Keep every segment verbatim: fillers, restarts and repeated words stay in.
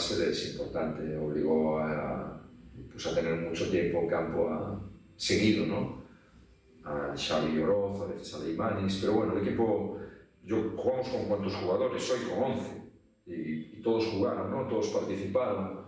base es importante, obligó a, pues, a tener mucho tiempo en campo a, seguido, ¿no? A Xavi Oroz, a veces a Leimanis, pero bueno, el equipo, yo jugamos con cuántos jugadores, hoy con once, y, y todos jugaron, ¿no? Todos participaron,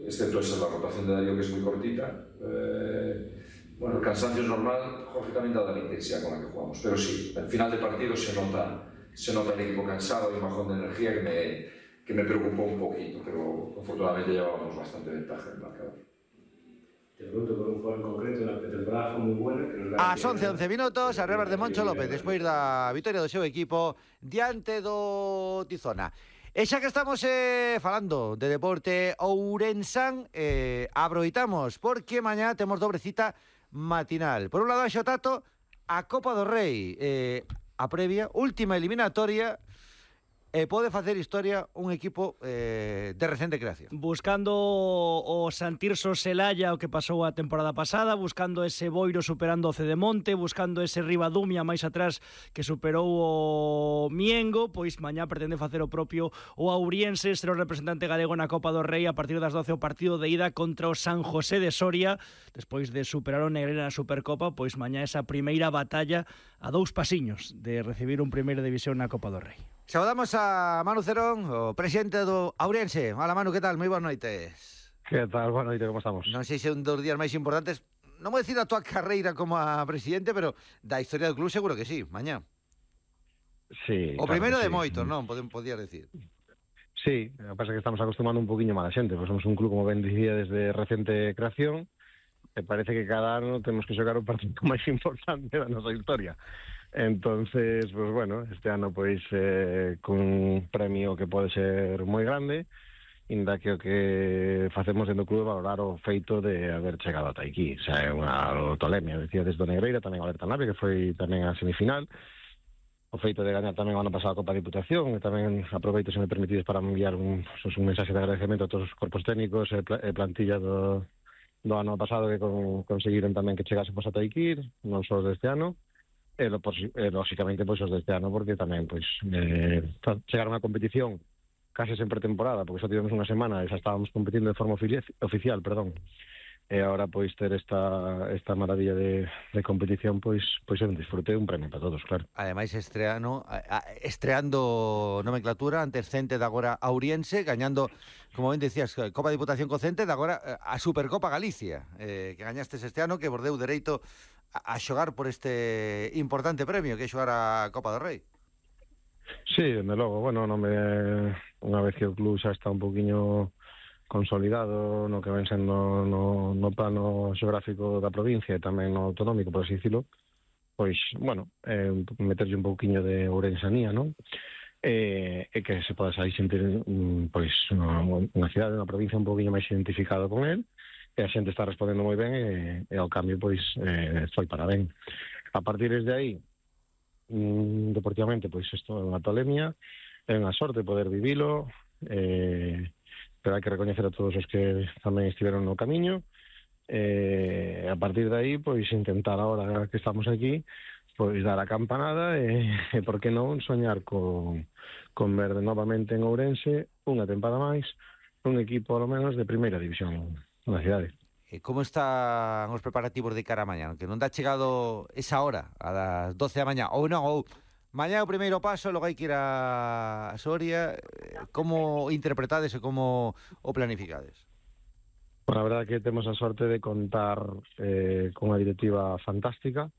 excepto esa la rotación de Darío, que es muy cortita. Eh, bueno, el cansancio es normal, Jorge también dada la intensidad con la que jugamos, pero sí, al final de partido se nota, se nota el equipo cansado y un bajón de energía que me, que me preocupó un poquito, pero afortunadamente llevábamos bastante ventaja en el marcador. Te pregunto por un juego en concreto, na pretemporada foi moi buena, que nos Ás once once minutos, a revés de Moncho López, despois da vitoria do seu equipo diante do Tizona. E xa que estamos eh, falando de deporte ourensán, eh, aproveitamos, porque mañá temos dobre cita matinal. Por un lado, a Xotato, a Copa do Rei, eh, a previa, última eliminatoria, e pode facer historia un equipo eh, de recente creación. Buscando o Santirso Celaya, o que pasou a temporada pasada, buscando ese Boiro superando o Cedemonte, buscando ese Ribadumia máis atrás que superou o Miengo, pois mañá pretende facer o propio o Auriense, ser o representante galego na Copa do Rei a partir das doce o partido de ida contra o San José de Soria, despois de superar o Negrera na Supercopa, pois mañá esa primeira batalla a dous pasiños de recibir un primeira división na Copa do Rei. Saudamos a Manu Cerón, o presidente do Auriense. Hola Manu, que tal? Moi boas noites. Que tal? Boa noite, como estamos? Non sei se é un dos días máis importantes, non vou dicir a tua carreira como a presidente, pero da historia do club seguro que sí, mañá. Sí. O primeiro claro, de sí. moitos, non? Podías decir. Sí, a pasa que estamos acostumando un poquinho máis a xente, pois somos un club, como ben dicía, desde recente creación, e parece que cada ano temos que xogar o partido máis importante da nosa historia. Entonces, pues bueno, este ano pois eh, cun premio que pode ser moi grande, inda que o que facemos dentro do club valorar o feito de haber chegado ata aquí. O sea, é unha tolemia, decía desde o Negreira, tamén o Alerta Nave, que foi tamén a semifinal, o feito de gañar tamén o ano pasado a Copa Diputación, e tamén aproveito, se me permitides, para enviar un, pues, un mensaxe de agradecemento a todos os corpos técnicos e plantilla do, do ano pasado que con, conseguiron tamén que chegásemos ata aquí, non só deste ano, e, lo, e lógicamente pois os deste ano, porque tamén pois eh, chegaron a competición case sen pretemporada, porque só tivemos unha semana e xa estábamos competindo de forma oficial, perdón. E agora pois ter esta esta maravilla de, de competición, pois pois é un disfrute, un premio para todos, claro. Ademais estreano, estreando nomenclatura ante Cente de agora Auriense, gañando, como ben decías, Copa Diputación co Cente, de agora a Supercopa Galicia, eh, que gañastes este ano, que vos deu dereito a xogar por este importante premio que é xogar a Copa do Rei. Sí, dende logo, bueno, non me unha vez que o club xa está un poquinho consolidado no que ven sendo no, no plano xeográfico da provincia e tamén no autonómico, por así dicilo, pois, bueno, eh, meterlle un pouquiño de ourensanía, non? E, e que se poda aí sentir pois unha, unha cidade, unha provincia un pouquiño máis identificado con el, e a xente está respondendo moi ben e, e ao cambio pois eh, foi para ben. A partir de aí, mm, deportivamente, pois isto é unha tolemia, é unha sorte poder vivilo, eh, pero hai que recoñecer a todos os que tamén estiveron no camiño, e a partir de aí pois intentar agora que estamos aquí pois dar a campanada e, e por que non soñar con, con ver novamente en Ourense unha tempada máis un equipo ao menos de primeira división na cidade. E como están os preparativos de cara a mañá? Que non dá chegado esa hora, a das doce da mañá, ou non, ou mañá o primeiro paso, logo hai que ir a Soria. Como interpretades e como o planificades? Bueno, a verdade que temos a sorte de contar eh, con unha directiva fantástica,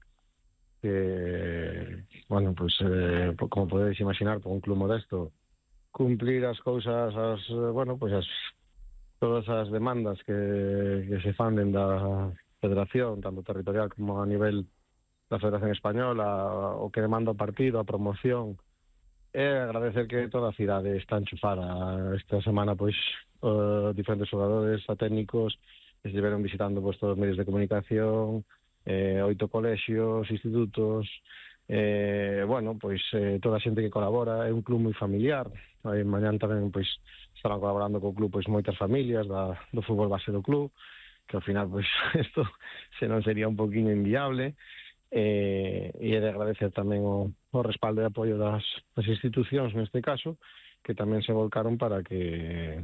que, bueno, pues, eh, como podedes imaginar, por un club modesto, cumplir as cousas, as, bueno, pues as todas as demandas que, que se fan dentro da federación, tanto territorial como a nivel da Federación Española, o que demanda o partido, a promoción, e agradecer que toda a cidade está enchufada. Esta semana, pois, uh, diferentes xogadores, a técnicos, estiveron visitando pois, todos os medios de comunicación, eh, oito colexios, institutos, eh, bueno, pois eh, toda a xente que colabora, é un club moi familiar. Aí mañán tamén, pois, estarán colaborando co club pois moitas familias da, do fútbol base do club, que ao final pois isto se non sería un poquinho inviable, eh, e é de agradecer tamén o, o respaldo e apoio das, das institucións neste caso, que tamén se volcaron para que